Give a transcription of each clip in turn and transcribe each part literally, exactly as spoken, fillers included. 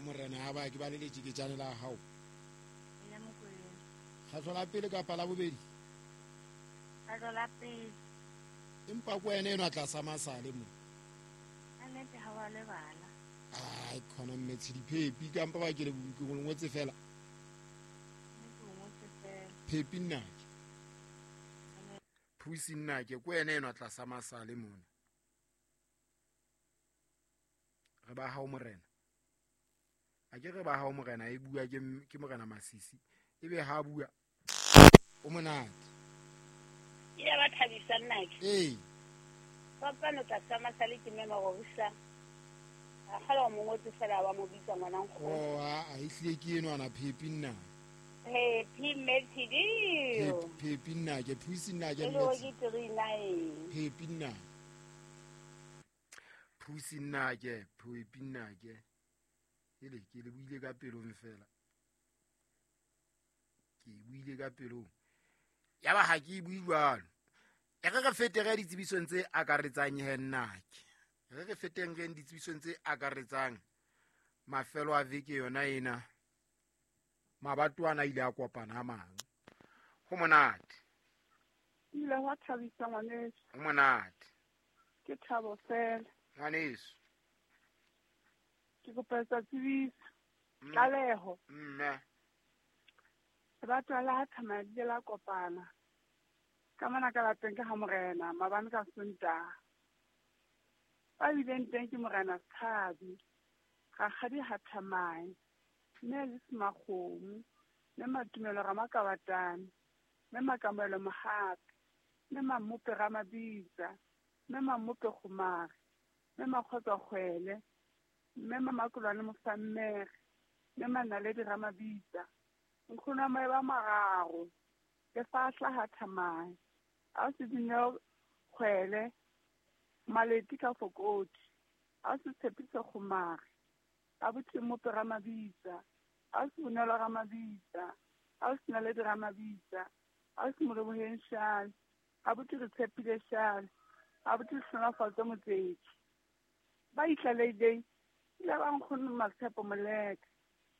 hao morena ha ba ke ba le letjeketjane la hao. Ya Mokwena. Kgetlo la pele kapa la bobedi? Kgetlo la pele. Empa ko wena enwa tlasa masale mo. A nnete ha wa lebala. Ai khona mme Tshidi Phepi ka mpa ba ke le ke ngotse fela. Nnete o ngotse fela. Phepi nna ke. Phusi nna ke ko wena enwa tlasa masale mona. Re ba hao morena. A ke re ba hao morena e bua ke ke morena Masisi. Ebe ha bua o monate. Ya ba thabisa nna ke. Ee. Kopano tlasa masale ke mme Marorisa. A kgala o mo ngotse fela wa mo bitsa ngwana nkgono. Oh a a ehlile ke enwa na Phepi nna. Phepi mme Tshidi. Phepi nna ke Phusi nna ke mme. Tshidi. Ke three nine. Phepi nna. Phusi nna ke Phepi nna ke. Ele ke le buile ka pelong fela. Ke buile ka pelong. Ya ba ha ke bue jwalo. E re re fete re ditsebisong tse akaretsang he nna ke. Re re feteng re ditsebisong tse akaretsang mafelo a veke yona ena. Mabatwana ile a kopana a mang. Ho monate. Ile wa thabisa ngwaneso. Ho monate. Ke thabo fela. Ngwaneso. Ke kopa tsebiso. Tlaleho. Mme. Batho la thamaya le la kopana. Ka mona ka lapeng ke ha morena mabane ka Sontaha. Ba bileng teng ke morena Tshabi. Rakgadi ha Thamae. Mme le Semakgomo, mme Matumelo Ramakabatane, mme Makamelo Mohapi, mme Mammope Ramabitsa, mme Mammope Kgomare, mme Makgotsa Kgwele, mme Mamakolwane Mofammere, mme Manaledi Ramabitsa. Nkgono wa maeba mararo, le fahla ha Thamae. Ausi Dineo Kgwele, Maleti ka Fokoti, ausi Tshepiso Kgomare, abuti Mmope Ramabitsa, ausi Bonolo Ramabitsa, ausi Naledi Ramabitsa, ausi Moleboheng Shale, abuti Re Tshepile Shale, abuti Hlonofatso Motsetsi. Ba itlaleileng ile ba nkgono Matshepo Moleka,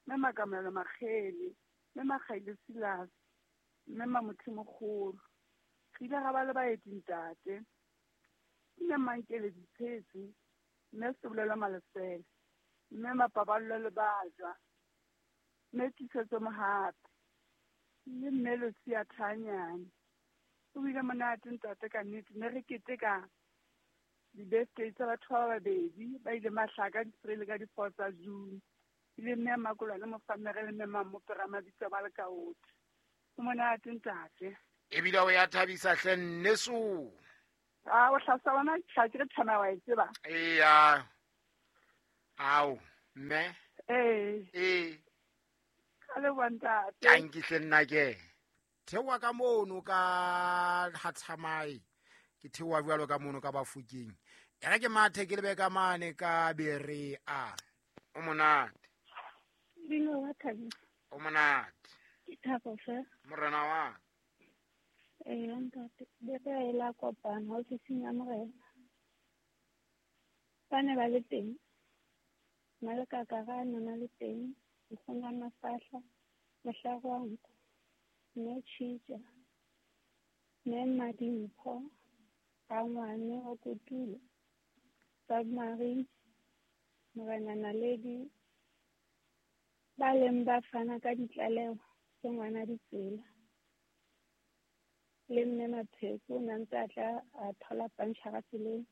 mme Makamelo Makgele, mme Makgaile Silas, mme Mamothi Mokgolo. Re ile ra ba le baeti ntate. Mme Mankele Ditshetse, mme Sebolelo Malesele, mme Mapaballo le Bajwa, mme Tiisetso Mohapi, le mme Lucia Thanyane. O bile monate ntate ka nnete, ne re keteka di-birthday tsa batho ba babedi ba ile mahlaka di-three le ka di-four tsa June. Ile mme Makolwane Mofammere le mme Mammope Ramabitsa ba le kaothi. O monate ntate. Ebile o ya thabisa hle nneso. Ah, o hlasa bona tla ke re thama wa e tseba. Eya. Ao, mme. Eh. Eh. Ka le bontate. Tanki hle nna ke. Theoha ka mono ka ha Thamae. Ke theoha jwalo ka mono ka Bafokeng. E re ke mathe ke lebe ka mane ka Berea. O monate. Bino wa thabisa. O monate. Ke thabo fela. Morena wa. Eh, ntate, Berea e la kopana ofising ya morena. Ba ne ba le teng. Maleka na le teng, nkgono wa Mafahla, Mohlare wa nko, mme Tshitja, mme Madimpho, Rangwane wa Kotulo, Submarine, morena Naledi, ba leng ba fana ka ditlaleho tse ngwana ditsela. Le mme Mapheko o ne ntse a tla a thola pantjhara tseleng.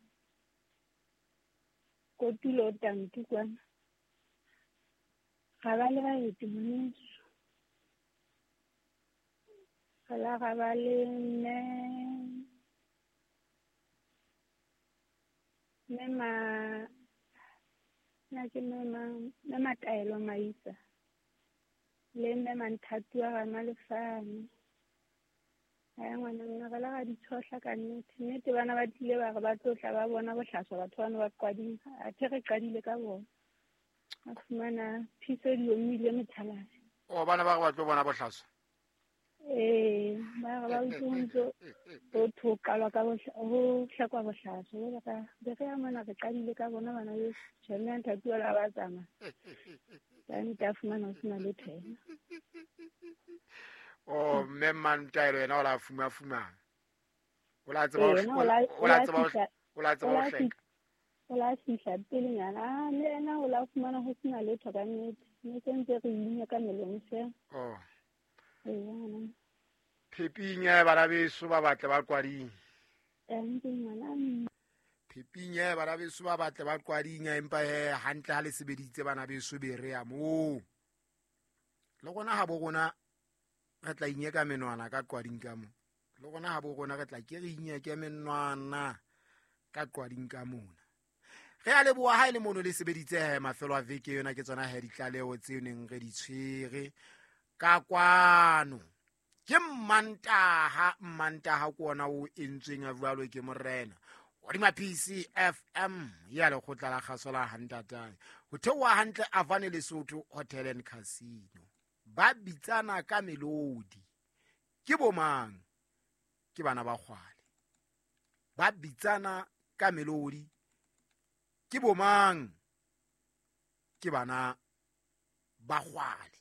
Kotulo o tanki kwana. Ga ba le baeti moneso. Ga la ga ba le mme mme ma nna ke mme ma mme Mataelo Maisa le mme Manthatuwa ga Malefane. Aya ngwana nna re la ga di tshohla ka nnete. Nnete bana ba tlile ba re ba tlo tla ba bona bohlaswa batho bana ba qadile. Athe re qadile ka bona. A fumana phiso di omile methalase. O bana ba re ba tlo bona bohlaswa? Ee, ba re ba utlwe ho ntso ho thwe ho qalwa ka ho hlekwa bohlaswa. Jwale ka be re ya mona re qadile ka bona bana beso. Tjhe, mme nthatuwa le ha ba tsamaya. Ka nnete a fumana ho sena letho yena. Oh, mme Mmantaelo yena o la fuma fumana. O la tseba Ee, ho yena o la o o la la tseba ho fihla o la o tseba ho la hleka. fihla o la fihla pelenyana. Ah, le yena o la fumana ho sena letho ka nnete. Ne se ntse re inya ka melomo feela. Oh. Ee, ngwana. Pheping ya bana beso ba batle ba qwading. Hantle ngwana. Pheping ya bana beso ba batle ba qwading empa he hantle ha le sebeditse bana beso be re ya moo. Le rona ha bo rona re tla inyeka menwana ka qwading ka mo. Le rona ha bo rona re tla ke re inyeke menwana ka qwading ka mona. Re a leboha ha e le mono le sebeditse he mafelo a veke yona ke tsona he ditlaleho tseo neng re di tshwere ka kwano. Ke Mmantaha, Mmantaha ke ona o entsweng a jwalo ke morena. Hodima P C F M ya lekgotla la kgaso la Hantatane. Ho theoha hantle Avane Lesotho Hotel and Casino. Ba bitsana ka melodi. Ke bomang? Ke bana ba kgwale. Ba bitsana ka melodi. Ke bomang? Ke bana ba kgwale.